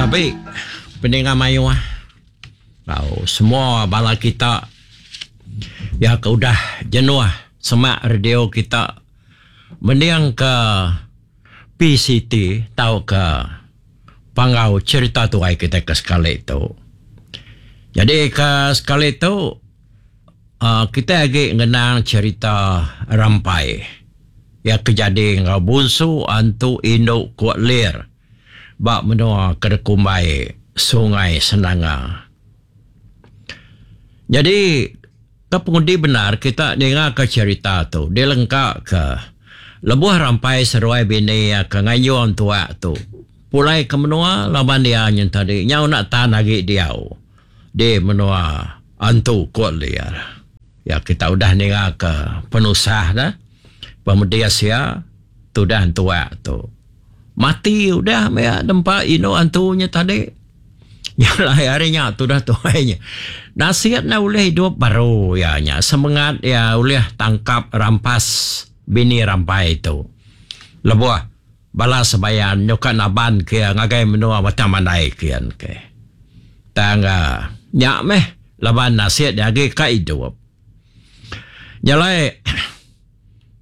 Tabi peninga mayuh enggau semua bala kita iya ke udah jenuh semak radio kita mending ke PCT tauka Panggau Cherita Tuai kitai ke sekali tu. Nyadi ke sekali tu uhh kitai agi ngenang cherita Rampai iya ke jadi enggau Bunsu Antu Indu Kuak Lir ba menua ke dikumbai Sungai Senanga. Nyadi ke pengundi bendar kita ninga ka cherita tu dilengka ke lebuh Rampai seduai bini iya ke nganjung tuak tu pulai ke menua laban iya nyen tadi nyau enda tan agi diau di menua Antu Kok Lir. Ya kita udah ninga ke penusah ne pemedis iya tudah entuak tu. Mati udah meh nempa indu antu nya tadi. Nya alai ari nya tudah tuai nya. Nasit ne ulih idup baru iya nya semengat iya ulih tangkap rampas bini rampai tu. Lebuh bala sebayan nyuka naban ke iya ngagai menua Batang Mandai kian ke. Tang nya meh laban nasit iya agi ka idup. Nya alai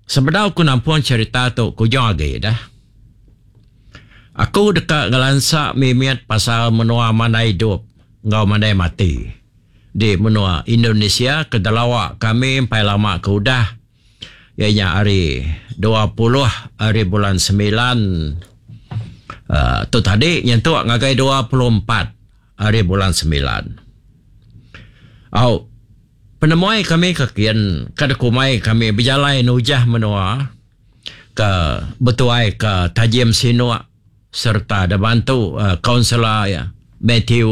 Sebedau ku nampung cherita tu ke ujung agi dah. Aku deka ngelansa mimit pasal menua mandai idup enggau mandai mati di menua Indonesia ke delawa kami empai lama ke udah iya nya ari 20 ari bulan semilan uhh tu tadi nyentuk ngagai 24 ari bulan semilan. Au. Penemuai kami ke kin ka dikumbai kami bejalai nujah menua ke betuai ke Tajim Sinuk sereta dibantu kaunselor iya Mathew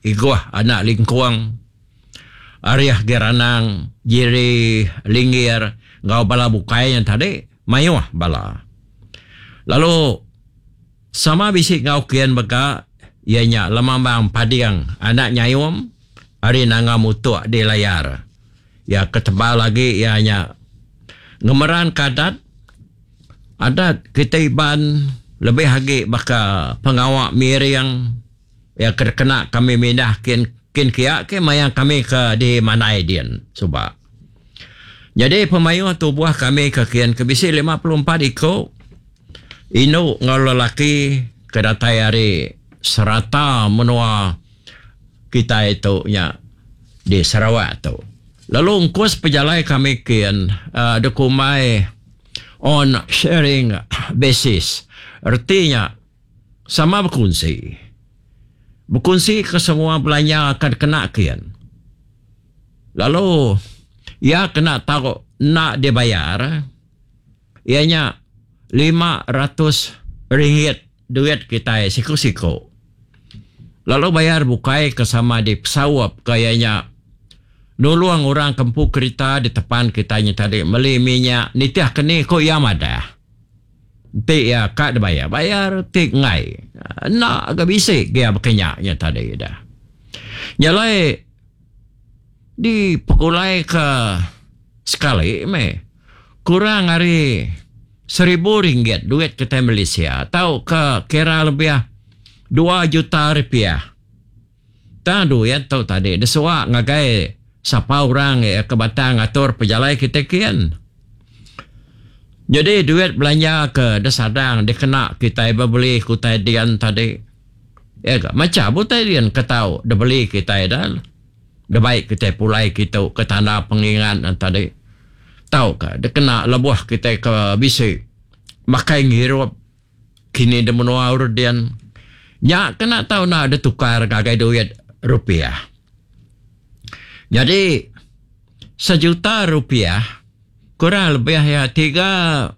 Igoh anak Lingkong, Ariah Geranang, Jerry Linggir enggau bala bukai nya tadi mayuh bala. Lalu sama bisi enggau kin mega iya nya Lemambang Pading anak Nyayum ari Nanga Mutuk di Layar. Iya ke tebal agi iya nya ngemeranka adat. Adat kitai Iban lebih agi baka pengawa miring iya ke dikena kami mindah kin kin kia ke maya kami ke di Mandai din suba. Nyadi pemayuh tubuh kami ke kin ke bisi 54 iku indu enggau lelaki ke datai ari serata menua kitai tu nya di Sarawak tu. Lalu ungkus pejalai kami kin uhh dikumbai on sharing basis reti nya sama bekunsi. Bekunsi ke semua belanja ke dikena kin. Lalu iya kena tau enda dibayar iya nya 500 ringgit duit kitai siku-siku. Lalu bayar bukai ke sama dipesaup ke iya nya nulung orang ke empu kerita ditepan kitai nya tadi meli minyak nitih ke ni ku iya madah. Enti iya ka dibayar, bayar ti enggai enda ga bisi gia baka nya nya tadi dah. Nya alai dipegulai ke sekali meh kurang ari seribu ringgit duit kitai Malaysia tauka kira lebih dua juta rupiah. Tang duit tu tadi disua ngagai sapa orang ke batang atur pejalai kitai kin. Nyadi duit belanja ke disadang dikena kitai bebeli ke utai din tadi iya ga macham utai din ke tau dibeli kitai da. Dibai kitai pulai kitu ke tanda pengingat ne tadi tauka dikena lebuh kitai ke bisi makai ngirup kini di menua Urdin nya kena tau enda ditukar ngagai duit rupiah. Nyadi sejuta rupiah kurang lebih iya 300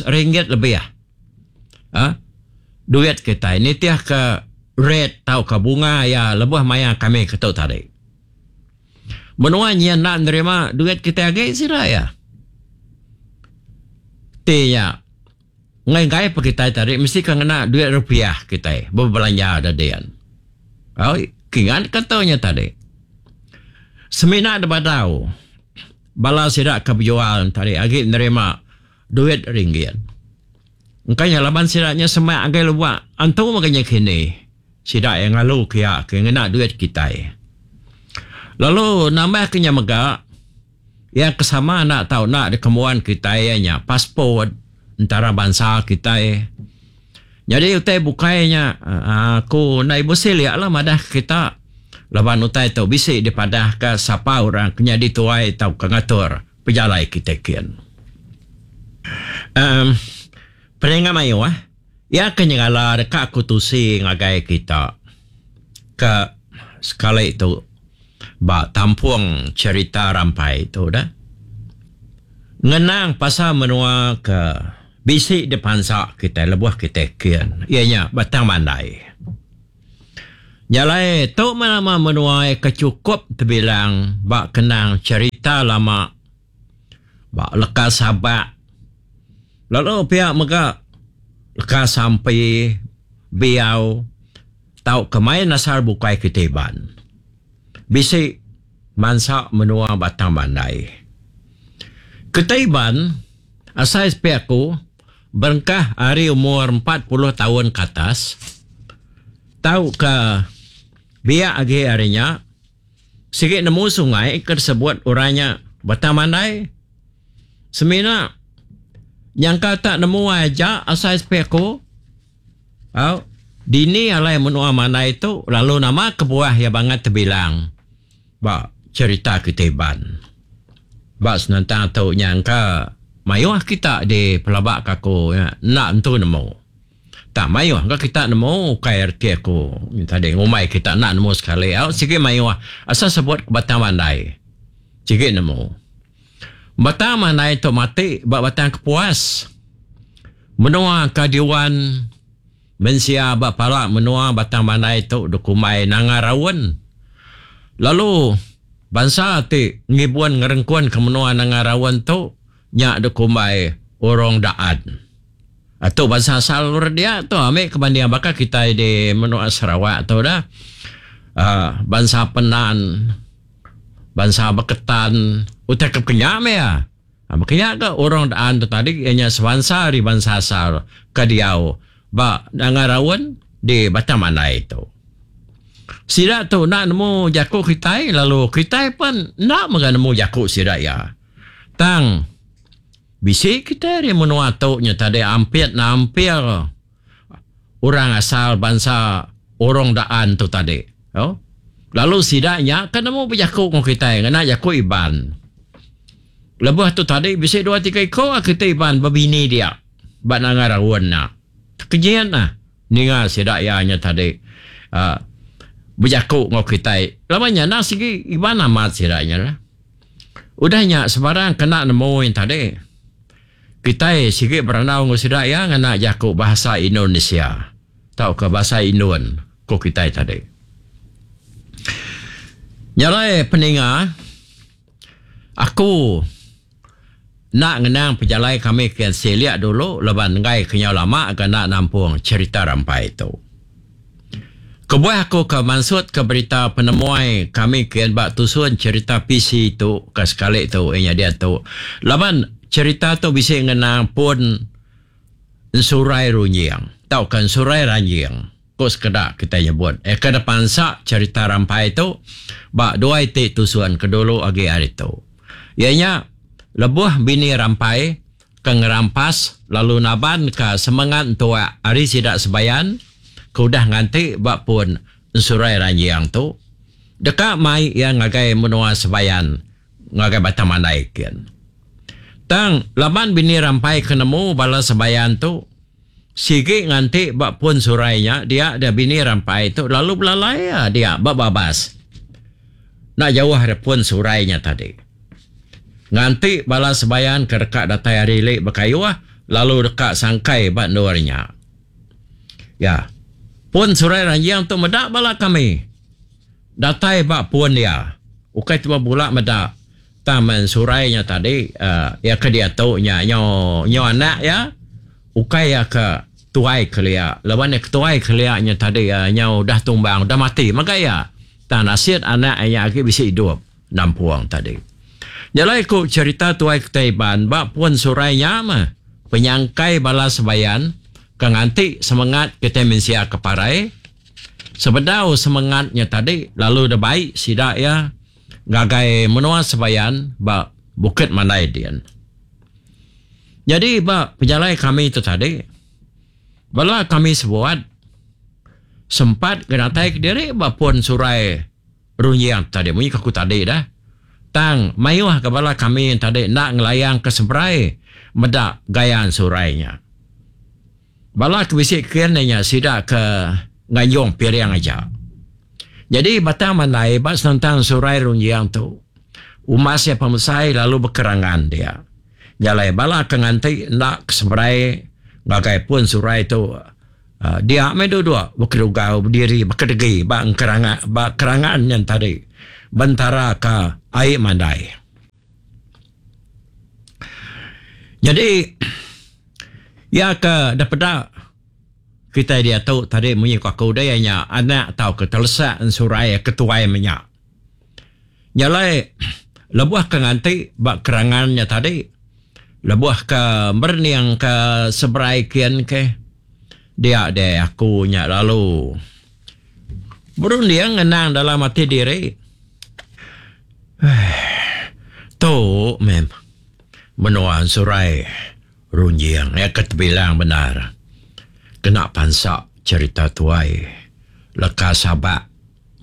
ringgit lebih uhh duit kitai nitihka rate tauka bunga iya lebuh maya kami ke tu tadi. Menua nyin enda nerima duit kitai agi sida iya. Ti nya enggai-enggai pun kitai tadi mesti ka ngena duit rupiah kitai bebelanja da din. Au kingat ka tu nya tadi. Semina da badau bala sida ke bejual tadi agi nerima duit ringgit. Engka nya laban sida nya semak ngagai lubak antu mega nya kini. Sida iya ngalu kia ke ngena duit kitai. Lalu nambah ke nya mega, iya ke sama enda tau enda dikembuan kitai iya nya passport entarabansa kitai. Nyadi utai bukai nya aku enda ibuh silik lah madah ke kita laban utai tu bisi dipadah ka sapa orang ke nyadi tuai tauka ngatur pejalai kitai kin. Emm peninga mayuh iya ke nyengala deka aku tusi ngagai kita ke sekali tu ba tampung cherita rampai tu dah. Ngenang pasal menua ke bisi dipansa kitai lebuh kitai kin iya nya Batang Mandai. Nya alai tu meh nama menua ke chukup tebilang ba kenang cherita lama ba leka sabak lalu pia mega leka sampi biau tauka main asal bukai kitai Iban. Bisi mansa menua Batang Mandai. Kitai Iban asai sepi aku berengkah ari umur 40 taun ke atas tauka biak agi ari nya sigi nemu sungai ke disebut orang nya Batang Mandai. Semina nyangka tak nemu aja asai sepi aku. Au, dini alai menua Mandai tu lalu nama kebuah iya bangat tebilang ba cherita kitai Iban. Ba senentang tu nya engka mayuh kita di pelaba ka aku nya enda entu nemu. Tang mayuh ga kita nemu ukai reti aku tadi ngumbai kita enda nemu sekali au sigi mayuh asal sebut Batang Mandai sigi nemu. Batang Mandai tu mati ba Batang Kepuas. Menua ka diuan mensia ba pala menua Batang Mandai tu dikumbai Nanga Raun. Lalu bansa ti ngibun ngerengkun ke menua Nanga Raun tu nya dikumbai Orong Daan. Tu bansa asal orang dia tu ambi ke banding baka kitai di menua Sarawak tu dah uhh bansa Penan, bansa Baketan utai ke pekenya meh iya. Baka nya ga orang daan tu tadi iya nya sebansa ari bansa asal ke diau ba Nanga Raun di Batang Mandai tu. Sida tu enda nemu jaku kitai lalu kitai pen enda mega nemu jaku sida iya. Tang bisi kitai ari menua tu nya tadi ampit nampil orang asal bansa Orong Daan tu tadi. Lalu sida nya ke nemu bejaku enggau kitai ngena jaku Iban. Lebuh tu tadi bisi dua tiga iko kitai Iban bebini dia ba Nanga Raun nya. Tekejin ah ninga sida iya nya tadi uhh bejaku enggau kitai. Laban nya endang sigi Iban amat sida nya lah. Udah nya sebarang kena nemu nya tadi kitai sigi berandau enggau sida iya ngena jaku Bahasa Indonesia tauka Bahasa Indon ku kitai tadi. Nya alai peninga. Aku enda ngenang pejalai kami ke silik dulu laban enggai kenyau lama ga enda nampung cherita rampai tu. Kebuah aku ke mansutka berita penemuai kami ke ba tusun cherita PC tu ke sekali tu iya nya diatu laban cherita tu bisi ngenang pun Ensurai Runjing tauka Ensurai Ranjing. Ku sekeda kitai nyebut iya ke dipansa cherita rampai tu ba dua iti tusun ke dulu agi ari tu. Iya nya lebuh bini rampai ke ngerampas lalu nabanka semengat entuak ari sida sebayan ke udah nganti ba pun Ensurai Ranjing tu deka mai iya ngagai menua sebayan ngagai Batang Mandai kin. Tang laban bini rampai ke nemu bala sebayan tu Sigi nganti ba pun surai nya dia deh bini rampai tu lalu belalai iya dia ba babas. Enda jauh ari pun surai nya tadi. Nganti bala sebayan ke deka datai ari ili bekayuh lalu deka sangkai ba endur nya. Ya. Pun surai ranjing tu meda bala kami. Datai ba pun iya. Ukai tubuh bula meda. Tang men surai nya tadi iya ke diatu nya nyau nyau anak iya ukai iya ke tuai kelia laban iya ke tuai kelia nya tadi nyau udah tumbang udah mati mega iya tang nasit anak iya agi bisi idup nampung tadi. Nya alai ku cherita tuai kitai Iban ba pun surai nya meh penyangkai bala sebayan ke nganti semengat kitai mensia ke parai. Sebedau semengat nya tadi lalu dibai sida iya ngagai menua Sebayan ba Bukit Mandai din. Nyadi ba pejalai kami tu tadi, bala kami sebuat sempat ngenatai kediri ba pun surai Runjing tadi munyi ke aku tadi dah. Tang mayuh ga bala kami tadi enda ngelayang ke seberai meda gaya ensurai nya. Bala ke bisi kin iya nya sida ke nganjung piring aja. Nyadi Batang Mandai ba senentang ensurai Runjing tu umbas iya pemesai lalu bekerangan dia. Nya alai bala ke nganti enda ke seberai ngagai pun surai tu Dia meh duduk bekedugau bediri bekedegi ba engkeranga ba kerangan nya tadi bentara ka ai mandai. Nyadi iya ke da peda kitai diatu tadi munyi ku aku deh iya nya anak tauka telesak ensurai ke tuai menya. Nya alai lebuh ke nganti ba kerangan nya tadi lebuh ke merening ke seberai kin ke dia deh aku nya lalu berunding ngenang dalam ati diri eii tu meh menua ensurai Runjing iya ke tebilang bendar kena pansa cherita tuai leka sabak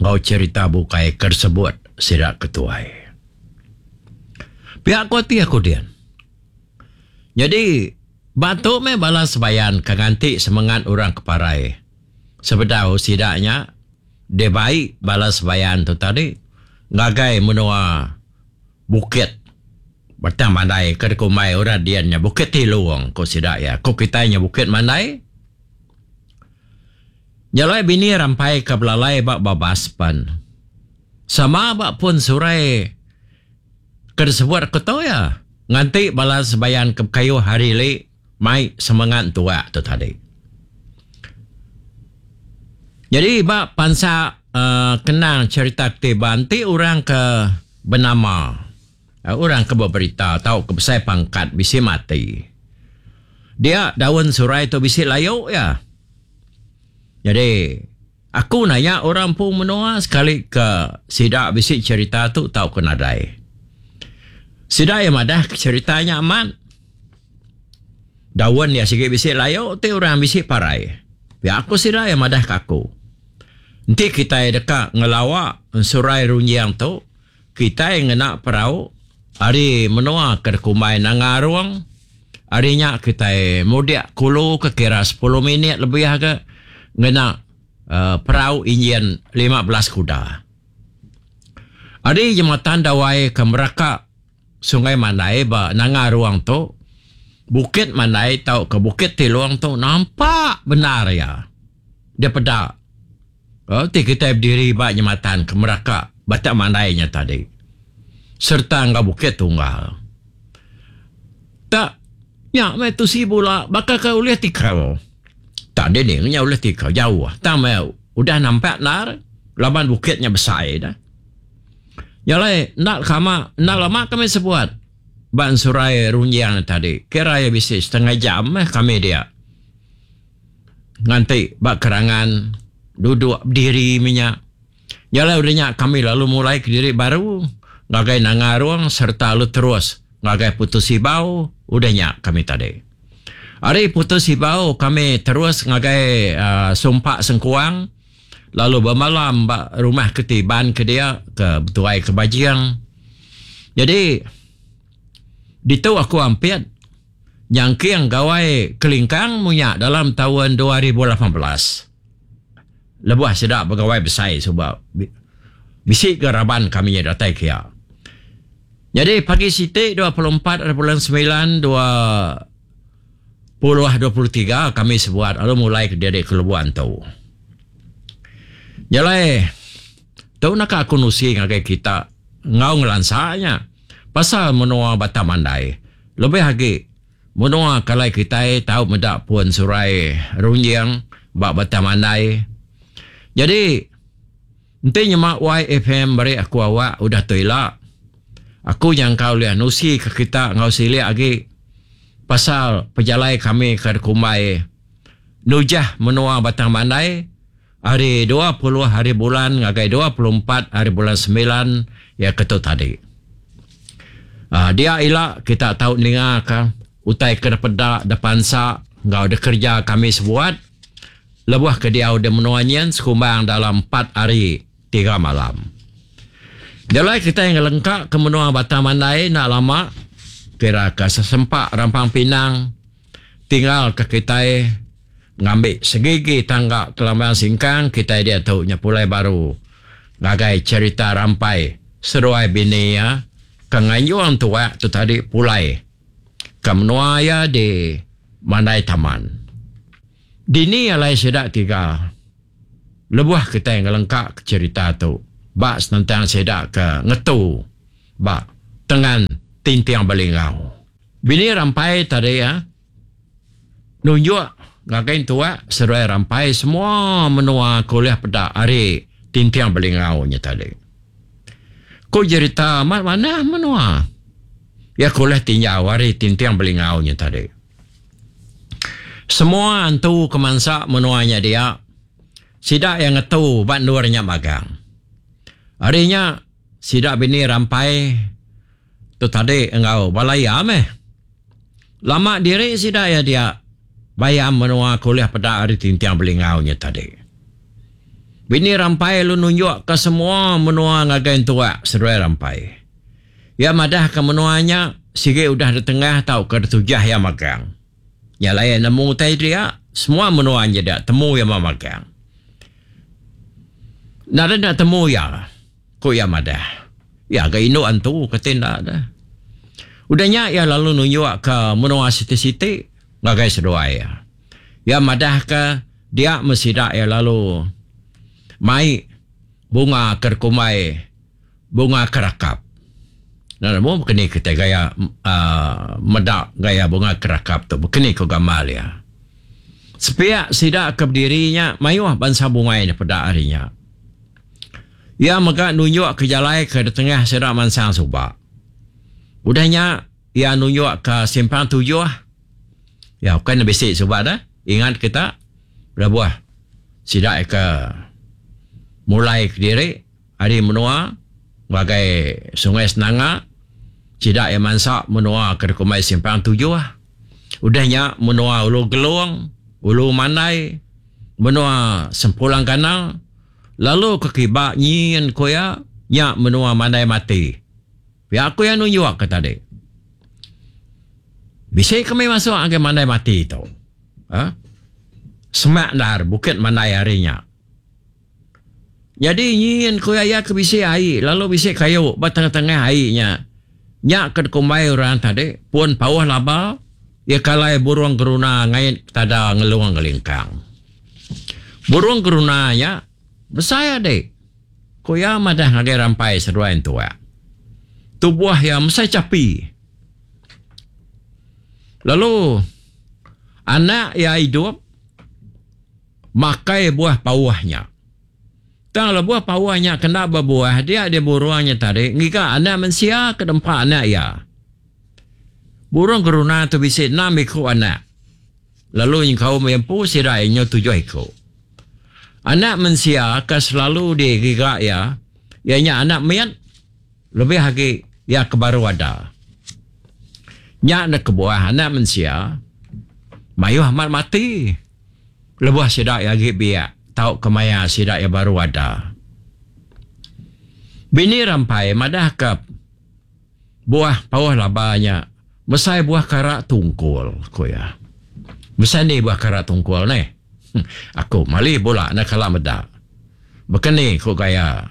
enggau cherita bukai ke disebut sida ke tuai. Pia ku ati aku din. Nyadi ba tu meh bala sebayan ke nganti semengat orang ke parai sebedau sida nya dibai bala sebayan tu tadi ngagai menua Bukit Batang Mandai ke dikumbai orang din nya Bukit Tilung ku sida iya. Ku kitai nya Bukit Mandai. Nya alai bini Rampai ke belalai ba babas pen sama ba pun surai ke disebut aku tu iya nganti bala sebayan ke bekayuh hari ili mai semengat entuak tu tadi. Nyadi ba pansa uhh kenang cherita ti ba enti orang ke benama orang ke beberita tauka besai pangkat bisi mati dia daun surai tu bisi layu iya. Nyadi aku nanya orang empu menua sekali ke sida bisi cherita tu tauka nadai. Sida iya madah ke cherita nya amat. Daun iya sigi bisi layu ti orang bisi parai. Pia ku sida iya madah ke aku. Enti kitai deka ngelawa ensurai runjing tu, kitai ngena perau ari menua ke dikumbai Nanga Arung. Ari nya kitai mudik kulu ke kira sepuluh minit lebih agi ngena uhh perau injin 15 kuda. Ari jematan dawai ke meraka Sungai Mandai ba Nanga Ruang tu, Bukit Mandai tauka Bukit Tilung tu nampak bendar iya dipeda ti kitai bediri ba jematan ke meraka Batak Mandai nya tadi sereta enggau Bukit Tunggal. Tak nya meh tusi bula baka ke ulih tikau. Tak dini nya ulih tikau jauh tang meh udah nampak endar laban bukit nya besai dah. Nya alai enda kama enda lama kami sebuat ba ensurai Runjing ne tadi kira iya bisi setengah jam meh kami dia nganti ba kerangan duduk bediri meh nya. Nya alai udah nya kami lalu mulai kediri baru ngagai Nanga Arong sereta lalu terus ngagai Putus Ibau udah nya kami tadi. Ari Putus Ibau kami terus ngagai uhh Sumpak Sengkuang. Lalu bemalam ba rumah ke ti iban ke dia ke betuai ke Bajing. Jadi ditu aku ampit nyangking gawai kelingkang munya dalam taun 2018. Lebuh sida begawai besai suba bisi ga raban kami datai kia. Jadi pagi siti 24 hari bulan semilan dua puluh 23 kami sebuat lalu mulai ke diri ke Lubok Antu. Nya alai tu naka aku nusi ngagai kita enggau ngelansa nya pasal menua Batang Mandai lebih agi menua ke alai kitai tau meda pun surai runjing ba Batang Mandai. Jadi enti nyema YFM meri aku awak udah tu ila aku nyangka ulih nusi ke kita enggau silik agi pasal pejalai kami ke dikumbai nujah menua Batang Mandai. ari 20 hari bulan ngagai 24 hari bulan semilan iya ke tu tadi. Aaa dia ila kita tau ninga ka utai ke dipeda dipansa enggau dikereja kami sebuat lebuh ke diau di menua nyin sekumbang dalam empat hari tiga malam. Jalai kitai ngelengka ke menua Batang Mandai enda lama kira ka sesempa Rampang Pinang tinggal ke kitai ngambi segigi tangga kelambang singkang kitai diatu nya pulai baru ngagai cherita Rampai seduai bini iya ke nganjung tuak tu tadi pulai ke menua iya di Mandai Taman. Dini alai sida tiga. Lebuh kitai ngelengka ke cherita tu ba senentang sida ke ngetu ba tengan Tinting Belingau. Bini Rampai tadi iya nunjuk ngagai entuak seduai Rampai semua menua ke ulih peda ari Tinting Belingau nya tadi. Ku jerita amat manah menua iya ke ulih tinjau ari Tinting Belingau nya tadi. Semua antu ke mansa menua nya dia, sida iya ngetu ba endur nya magang. Ari nya, sida bini Rampai tu tadi enggau bala iya meh. Lama diri sida iya dia, bayam menua ke ulih peda ari Tinting Belingau nya tadi. Bini Rampai lalu nunjukka semua menua ngagai entuak seduai Rampai. Iya madahka menua nya sigi udah ditengah tauka ditujah iya magang. Nya alai iya nemu utai dia, semua menua nya dia temu iya magang. Nadai enda temu iya, ku iya madah. Iya ga indu antu kati enda deh. Udah nya iya lalu nunjukka menua siti-siti ngagai seduai iya. Iya madahka dia meh sida iya lalu mai bunga ke dikumbai Bunga kerakap. Enda nemu baka ni kitai gaya aaa meda gaya bunga kerakap tu baka ni ku gamal iya. Sepiak sida ke bediri nya mayuh bansa bungai ne peda ari nya. Iya mega nunjuk ke jalai ke ditengah sida mansang suba. Udah nya iya nunjuk ke simpang tujuh iya ukai ne bisi suba deh ingat kita lebuh sida ke mulai kediri. Ari menua ngagai Sungai Senanga, sida iya mansa menua ke dikumbai Simpang Tujuh. Udah nya menua Ulu Gelong, Ulu Mandai, menua Sempulang Gana, lalu ke kiba nyin ku iya, nya menua Mandai Mati. Pia ku iya nunjuk ke tadi. Bisi kami masuk ngagai Mandai Mati tu. Uhh. Semak endar Bukit Mandai ari nya. Nyadi nyin ku iya ke bisi ai lalu bisi kayu ba tengah-tengah ai nya. Nya ke dikumbai orang tadi pun pauh laba iya ke alai burung geruna ngait tada ngelung ngelingkang. Burung geruna nya besai adi, ku iya madah ngagai Rampai seduai entuak. Tubuh iya mesai chapi. Lalu anak iya idup. Makai buah pauh nya. Tang lebuh pauh nya kena bebuah dia deh burung nya tadi ngiga anak mensia ke dempa anak iya. Burung geruna tu bisi enam iku anak lalu nyengkaum iya empu sida iya nyau tujuh iku. Anak mensia ke selalu digiga iya, iya nya anak mit lebih agi iya ke baru ada. Nya ne kebuah anak mensia mayuh amat mati. Lebuh sida iya agi biak tauka maya sida iya baru ada. Bini Rampai madahka buah pauh laba nya mesai buah kara tungkul, ku iya. Mesai ni buah kara tungkul neh? Aku mali bula enda kala meda. Baka ni ku gaya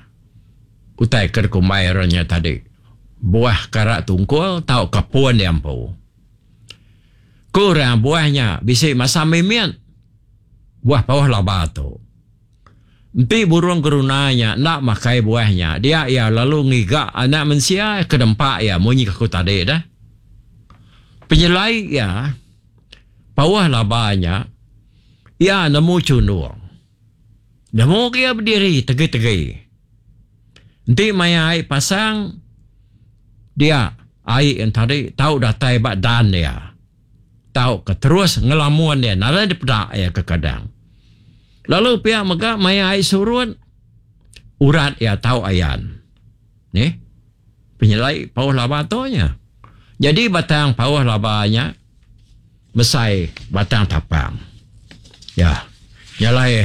utai ke dikumbai orang nya tadi buah kara tungkul tauka pun iya empu. Ku orang buah nya bisi masam mimit buah pauh laba tu. Enti burung geruna nya enda makai buah nya dia iya lalu ngiga anak mensia ke nempa iya munyi ke aku tadi dah. Penyelai iya pauh laba nya iya nemu chundung. Nemu ke iya bediri tegi-tegi. Enti maya ai pasang dia ai entadi tau datai ba dan iya tauka terus ngelamun iya nadai dipeda iya kekadang. Lalu pia mega maya ai surut urat iya tau ayan. Nih penyelai pauh laba tu nya. Nyadi batang pauh laba nya mesai batang tapang. Ya. Nya alai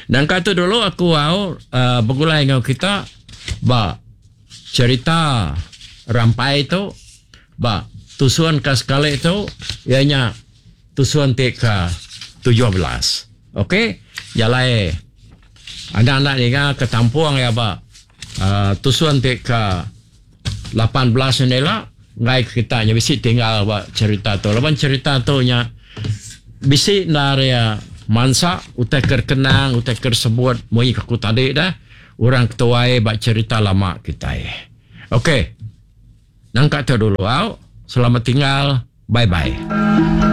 nangka tu dulu aku au uhh begulai enggau kita ba cherita rampai tu ba tusun ka sekali tu iya nya tusun ti ka 17. Okey nya alai anda enda ninga ke tampung iya ba uhh tusun ti ka 18 nya ila enggai ke kita nya bisi tinggal ba cherita tu laban cherita tu nya bisi endar iya mansa utai ke kenang utai ke sebut munyi ke aku tadi dah orang ketuai ba cherita lama kitai. Okey nangka tu dulu au selamat tinggal bye bye.